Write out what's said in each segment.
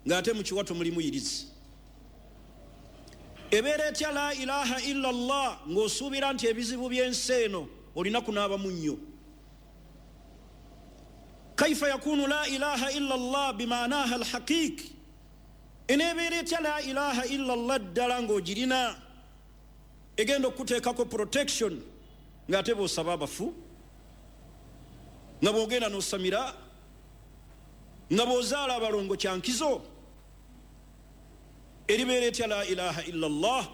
Ng'ate mu kiwato mulimu yirizi. Ebeera etya la ilaha illa llah ng'osuubira nti ebizibu by'ensi eno olina kunaaba munnyo? Kaifa yakunu la ilaha illa llah bimaanaha alhaqiqi? Eneebeera etya la ilaha illa llah ddala ng'ogirina egenda okukuteekako protection, ng'ate bw'osaba abafu, nga bw'ogenda n'osamira, nga bw'ozaala abalongo kyankizo? Eribeera etya la ilaha illa llah?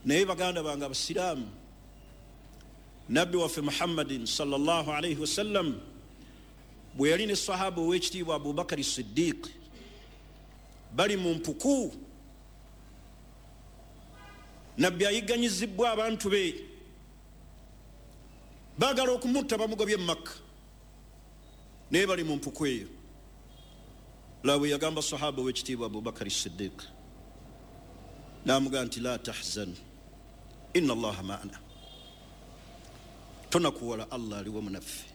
Naye baganda bange abasiraamu, nabbi waffe Muhammadin sallallahu alaihi wasallam bwe yali ne sahaba ow'ekitiibwa Abubakari Siddiq bali mu mpuku, nabbi ayigganyizibwa abantu be, baagala okumutta bamugobye mu Makka, naye bali mu mpuku eyo. La bwe yagamba sahaba ow'ekitiibwa Abubakari Siddiq, n'amugamba nti la tahzan inna allaha maana, tonakuwala, Allah ali wamu naffe.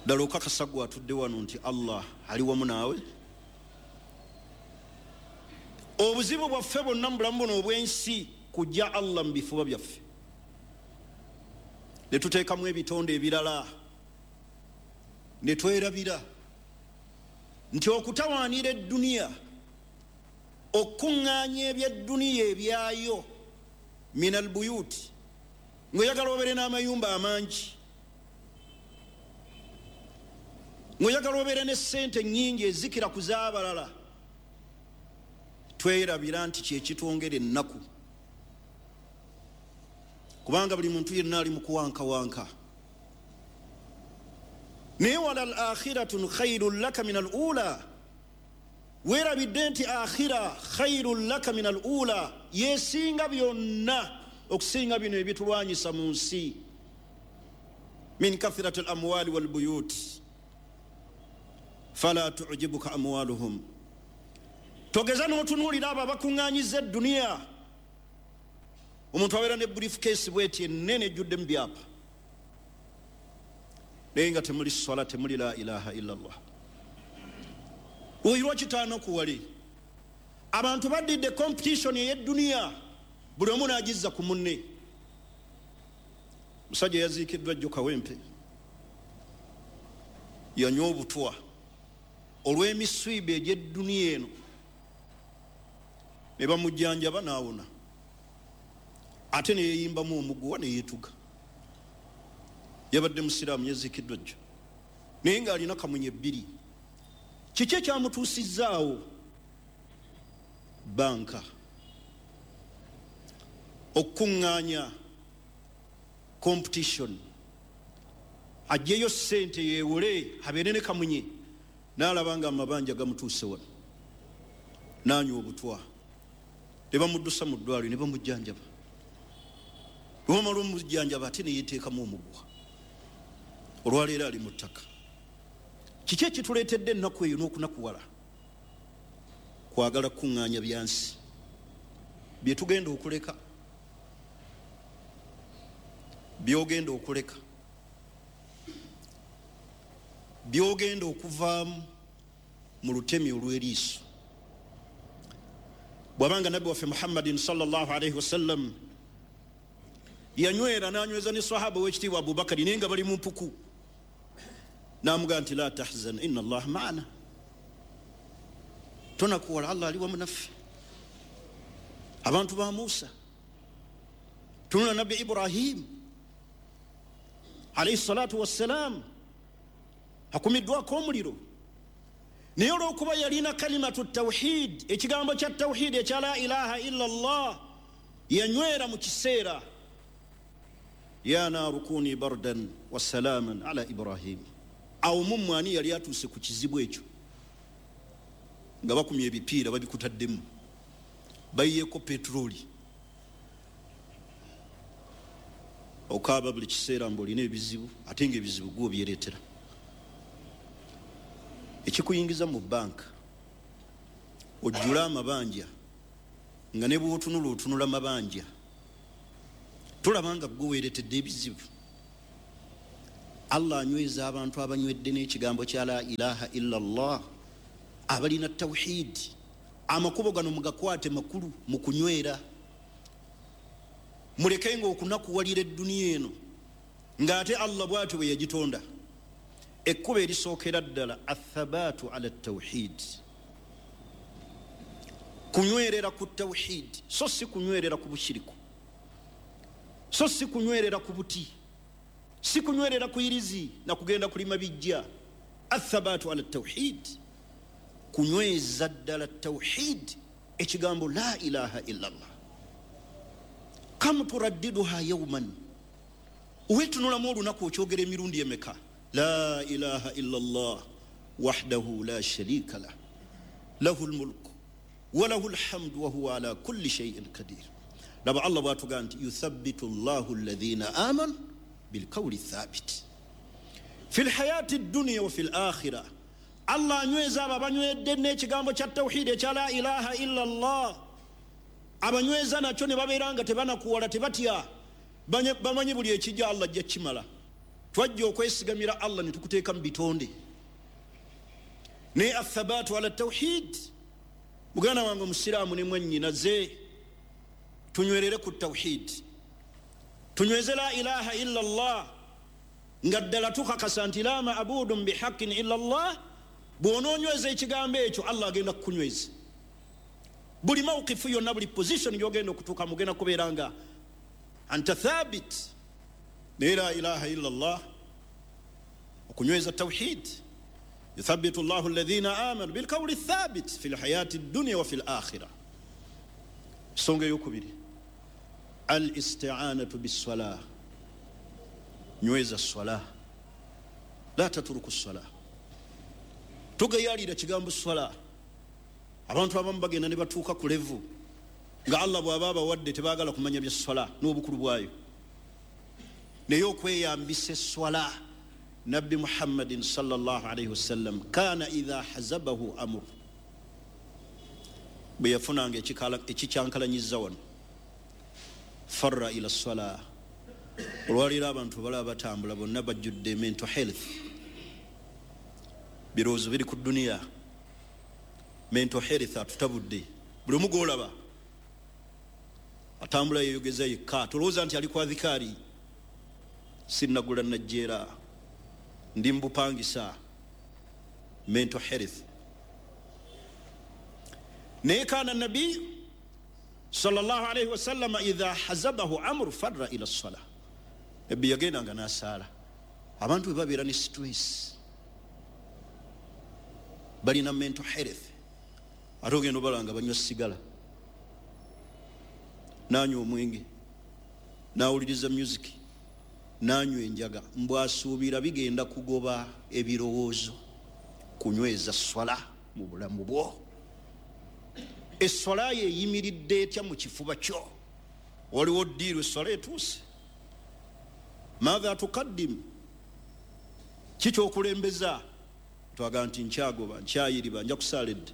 Ddala okakasa gwe atudde wano nti Allah ali wamu naawe? Obuzibu bwaffe bwonna mu bulamu buno obw'ensi kujja Allah mu bifuba byaffe, ne tuteekamu ebitonde ebirala, ne twerabira nti okutawaanira edduniya, okukuŋŋaanya ebyedduniya ebyayo min albuyuti, ng'oyagala obeere n'amayumba amangi, ng'oyagala obeere ne ssente nnyingi ezikira ku z'abalala, twerabira nti kyekitwongera ennaku, kubanga buli muntu yenna ali mu kuwankawanka. Naye wala al akhiratun khairun laka min al ula, weerabidde nti akhira khairun laka min al ula, yesinga byonna okusinga bino ebitulwanyisa mu nsi, min kathirati al amwali wal buyut fala tujibuka amwaluhum. Togeza n'otunuulira abo abakuŋŋaanyiza edduniya. Omuntu abeera ne briefcase bweti ennene ejjudde mu byapa, naye nga temuli swala, temuli la ilaha illa llah. Oyo lwaki taanakuwale? Abantu baddidde competition ey'edduniya, buli omu n'agizza ku munne. Musajja yaziikiddwa jjo Kawempe, yanywa obutwa olw'emiswiba egy'edduniya eno, ne bamujjanjaba n'awona, ate neyeyimbamu omuguwa neyeetuga. Yabadde musiraamu, yaziikiddwa jjo, naye ng'alina kamunye bbiri. Kiki ekyamutuusizzaawo? Banka, okukuŋŋaanya, competition, ajjeyo ssente yeewole abeere ne kamunye, n'alaba nga amabanja gamutuuse wano, n'anywa obutwa, ne bamuddusa mu ddwaliro ne bamujjanjaba. Bwe bamala omujjanjaba ate ne yeeteekamu omuguwa, olwaleero ali mu ttaka. Kiki ekituleetedde ennaku eyo n'okunakuwala? Kwagala kukuŋŋaanya byansi bye tugenda okuleka, byogenda okuleka, byogenda okuvaamu mu lutemi olw'eriiso. Bw'abanga nabbi waffe Muhammadin sallallahu alaihi wasallam yanywera n'anyweza ne sahaba ow'ekitiibwa Abubakari, naye nga bali mu mpuku, n'amugamba nti la tahzan inna allaha maana, tonakuwala, Allah ali wamu naffe. Abantu ba Musa, tunula nabbi Ibrahim alaihi salatu wassalam, akumiddwako omuliro, naye olw'okuba yalina kalimatu tawhid, ekigambo kya tawhid ekya la ilaha illa llah, yanywera mu kiseera, ya naaru kuni bardan wasalaman ala Ibrahim. Awo mummwe ani yali atuuse ku kizibu ekyo nga bakumya ebipiira babikutaddemu, bayiyeeko peturooli, okaaba buli kiseera mbu olina ebizibu, ate nga ebizibu gwe obyereetera? Ekikuyingiza mu banka ojjule amabanja, nga ne bw'otunula otunula mabanja, tolaba nga gwe weeretedde ebizibu? Allah anyweza abantu abanywedde n'ekigambo kya la ilaha illa llah, abalina tawhid. Amakubo gano mugakwate makulu mu kunywera. Mulekenga okunakuwalira edduniya eno ng'ate Allah bw'atyo bwe yagitonda. Ekkubo erisookera ddala athabaatu ala tawhid, kunywerera ku tawhid, so si kunywerera ku bushiriku, so si kunywerera ku buti, si kunywerera ku irizi na kugenda kulima bijja. Athabaatu ala tawhid, kunyweza ddala tawhid, ekigambo la ilaha illa llah. Kam turaddiduha yauman, wetunulamu olunaku okyogera emirundi emeka? La ilaha illa llah wahdahu la sharika lah lahu lmulku walahu lhamdu wahuwa ala kulli shaiin qadir. Laba Allah bwatugaa nti yuthabitu llahu alladhina amanu bilqawli thabit fi lhayati dduniya wa fi lakhira. Allah anyweza abo abanywedde n'ekigambo kya tawhidi ekya la ilaha illa llah, abanyweza nakyo ne babeera nga tebanakuwala, tebatya, bamanyi buli ekijja Allah ajja kukimala. Twajja okwesigamira Allah ne tukuteeka mu bitonde. Naye athabaatu ala tawhid, muganda wange omusiraamu ne mwannyinaze, tunywerere ku tawhid, tunyweze la ilaha illa llah, nga ddala tukakasa nti la maabudun bihaqin illa llah. Bw'onoonyweza ekigambo ekyo Allah agenda kukunyweza. Buli mawukifu yonna, buli position gy'ogenda okutuuka mugenda kubeera nga anta thabit. Naye la ilaha illa llah, okunyweza tawhid, yuthabitu llahu alladhina amanu bilqawli thabit fi lhayati ddunya wa fi lakhira. Ensonga eyokubiri, al istianatu bissala, nyweza swala, la tatruku swala. Tugayalira kigambo swala. Abantu abamu bagenda ne batuuka ku levu nga Allah bw'aba abawadde tebaagala kumanya bya swala n'obukulu bwayo. Naye okweyambisa eswala, Nabbi Muhammadin sallallahu alaihi wasallam kana idha hazabahu amur, bwe yafunanga ekikyankalanyiza wano, farra ila swala. Olwaleero abantu balaba batambula bonna bajjudde mental health, birowoozo biri ku dduniya. Mental health atutabudde, buli omu gw'olaba atambula yeyogeza yekka, tolowooza nti ali kwa dhikaari. Sinnagula najjeera, ndi mbupangisa. Mental health. Naye kana nabi sallallahu alaihi wasallam idha hazabahu amru farra ila sala. Nabbi yagendanga n'asaala. Abantu bwe babeera ne stress, balina mental health, ate ogenda obalanga banywa sigala, nanywa omwenge, nawuliriza music, nanywa enjaga, mbwasuubira bigenda kugoba ebirowoozo. Kunyweza swala mu bulamu bwo. Eswala yeyimiridde etya mu kifuba kyo? Waliwo ddiiru eswala etuuse, maatha tukaddimu, kikyokulembeza? Twaga nti nkyagoba, nkyayiriba, nja kusaala edde.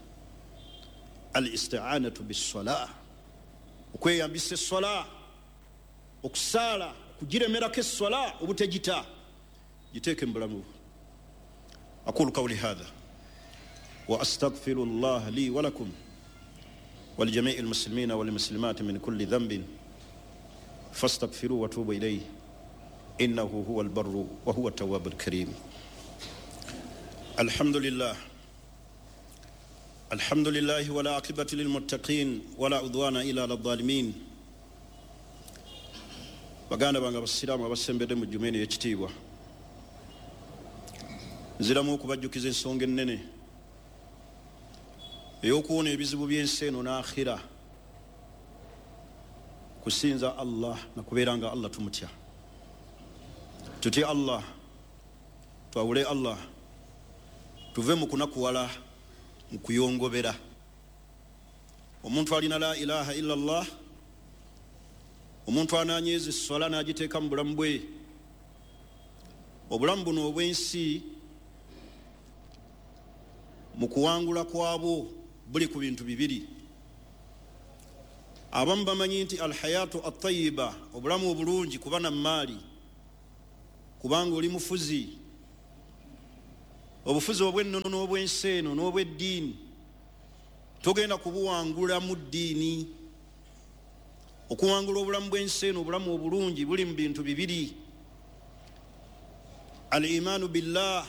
Al istianatu bissala, okweyambisa eswala, okusaala, kugiremerako eswala obutegita, giteeke mu bulamu bwo. Aqulu qawli hadha wa astaghfiru llah li wa lakum ولجميع المسلمين والمسلمات من كل ذنب فاستغفروه وتوبوا إليه إنه هو البر وهو التواب الكريم. الحمد لله، الحمد لله ولا عاقبة للمتقين ولا عدوان إلا على الظالمين. Baganda bange abasiraamu abasembedde mu jjuma eno ey'ekitiibwa, nziramu okubajjukiza ensonga ennene ey'okuwona ebizibu by'ensi eno n'akhira, kusinza Allah na kubeera nga Allah tumutya. Tutye Allah, twawule Allah, tuve mu kunakuwala, mu kuyongobera. Omuntu alina la ilaha illa Allah, omuntu ananyweza esswala n'agiteeka mu bulamu bwe, obulamu buno obw'ensi mu kuwangula kwabwo buli ku bintu bibiri. Abamu bamanyi nti alhayatu atayiba, obulamu obulungi, kuba na maali, Kubanga oli mufuzi, obufuzi obw'ennono n'obw'ensi eno n'obw'eddiini togenda kubuwangula mu ddiini. Okuwangula obulamu bw'ensi eno, obulamu obulungi, buli mu bintu bibiri: al imaanu billah,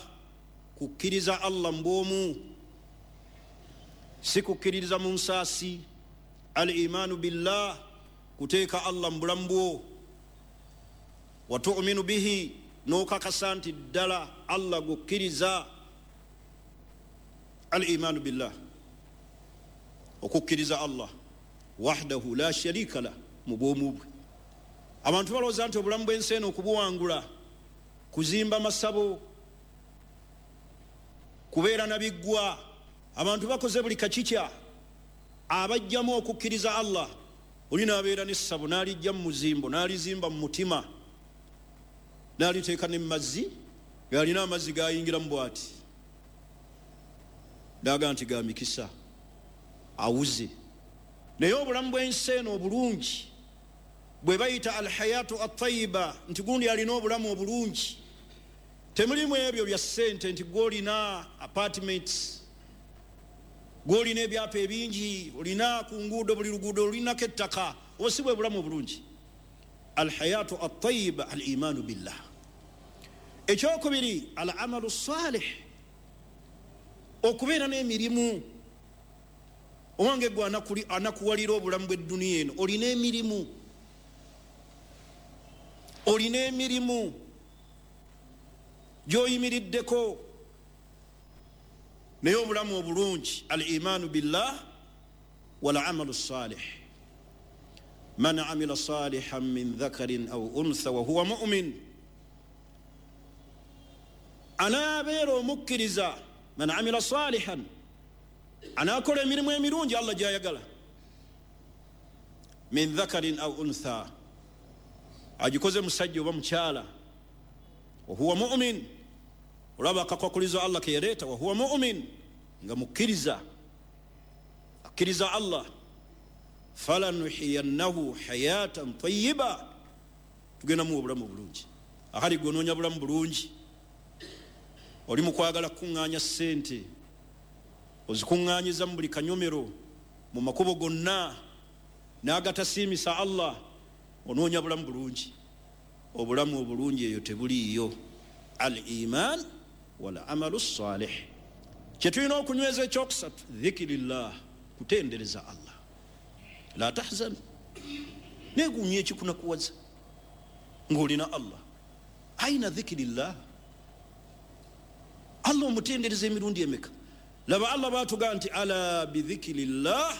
kukkiriza Allah mu bwomu, si kukkiririza mu nsaasi. Al imaanu billah, kuteeka Allah mu bulamu bwo, wa tuminu bihi, n'okakasa nti ddala Allah gukkiriza. Al imaanu billah, okukkiriza Allah wahdahu la sharika lah, mu bwomu bwe. Abantu balowooza nti obulamu bw'ensi eno okubuwangula kuzimba masabo, kubeera na biggwa. Abantu bakoze buli kakikya abajjamu okukkiriza Allah. Oli n'abeera n'essabo n'alijja mu muzimbo, n'alizimba mu mutima, n'aliteeka ne mu mazzi, ng'alina amazzi gayingiramu bw'ati, n'agamba nti ga mikisa, awuze. Naye obulamu bw'ensi eno obulungi bwe bayita alhayatu atayiba, nti gundi alina obulamu obulungi, temulimu ebyo bya ssente nti gwolina apartments, gwolina ebyapa ebingi, olina ku nguudo, buli luguudo olulinako ettaka. Obwo si bwe bulamu obulungi. Alhayatu atayiba al imaanu billah. Ekyokubiri, al amalu salih, okubeera n'emirimu. Owange gwe anakuwalira obulamu bw'edduniya eno, olina emirimu, olina emirimu gy'oyimiriddeko. Naye obulamu obulungi, al imaanu billah wal amalu salih. Man amila salihan min dhakarin au untha wa huwa mumin, anaabeera omukkiriza. Man amila salihan, anaakola emirimu emirungi Allah gyayagala, min dhakarin au untha, agikoze musajja oba mukyala, wahuwa mumin. Olaba akakwakulizo Allah keyaleeta, wahuwa mumin, nga mukkiriza, akkiriza Allah. Falanuhiyannahu hayatan tayiba, tugenda muwa obulamu obulungi. Akali gwe onoonya bulamu bulungi, oli mu kwagala kukuŋŋaanya ssente, ozikuŋŋaanyiza mu buli kanyomero, mu makubo gonna n'agatasiimisa Allah, onoonya bulamu bulungi. Obulamu obulungi eyo tebuliiyo. Al iman wal amalu salih. Kyetulina okunyweza ekyokusatu, dhikirillah, kutendereza Allah. La tahzan, negumya ekikunakuwaza ng'olina Allah. Aina dhikirillah, Allah omutendereza emirundi emeka? Laba Allah batugaa nti ala bidhikirillah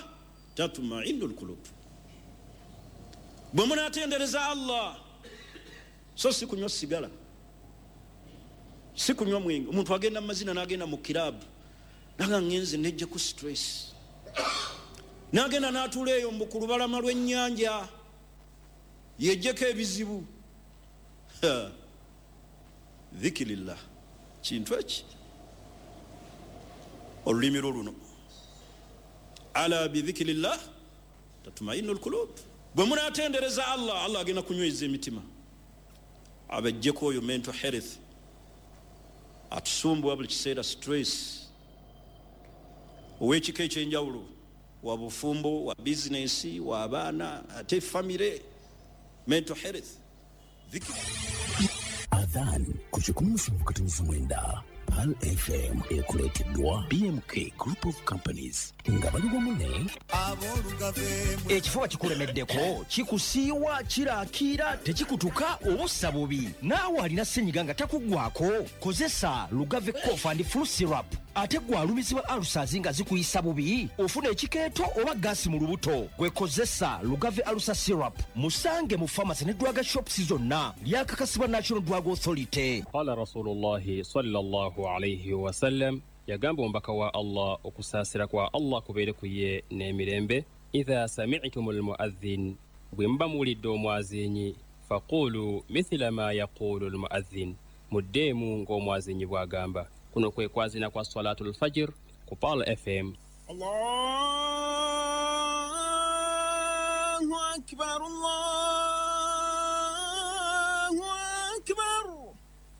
tatmainu lkulub. Bwe munatendereza Allah, so si kunywa sigala, si kunywa mwenge. Omuntu agenda mu mazina n'agenda mu kirabu, naga ngenze nejjaku stress, n'agenda n'atuula eyo mbu ku lubalama lw'ennyanja yejjeko ebizibu. Dhikirillah kintu eki, olulimi lwo luno, ala bidhikirillah tatmainu lkulub. Bwe munatendereza Allah, Allah agenda kunyweza emitima, abajjeko oyo mental health atusumbuwa buli kiseera, stress, ow'ekika ekyenjawulo, wa bufumbo, wa bizinesi, wa abaana, ate famire, mental health. Adhan ku 107.9 Pearl FM ekuleeteddwa BMK Group of Companies nga bali wamu ne Ekifuba kikulemeddeko, kikusiiwa, kirakiira, tekikutuka oba ossa bubi. Naawe alina ssenyiga nga takuggwako, kozesa Lugave Cough and Flu Syrup. Ate gwe alumizibwa ulcers nga zikuyisa bubi, ofuna ekikeeto oba gaasi mu lubuto, gwe kozesa Lugave Ulcer Syrup. Musange mu pharmacy ne drug shops zonna. Lyakakasibwa National Drug Authority. Qala Rasulullahi sallallahu alaihi wasallam, yagamba omubaka wa Allah, okusaasira kwa Allah kubeere ku ye n'emirembe, idha sami'tum almuadhin, bwe muba muwulidde omwazinyi, faqulu mithila ma yaqulu almuadhin, muddeemu ng'omwazinyi bw'agamba. Kuno kwe kwazina kwa Salatul Fajr ku Pearl FM. Allahu akbar, Allah.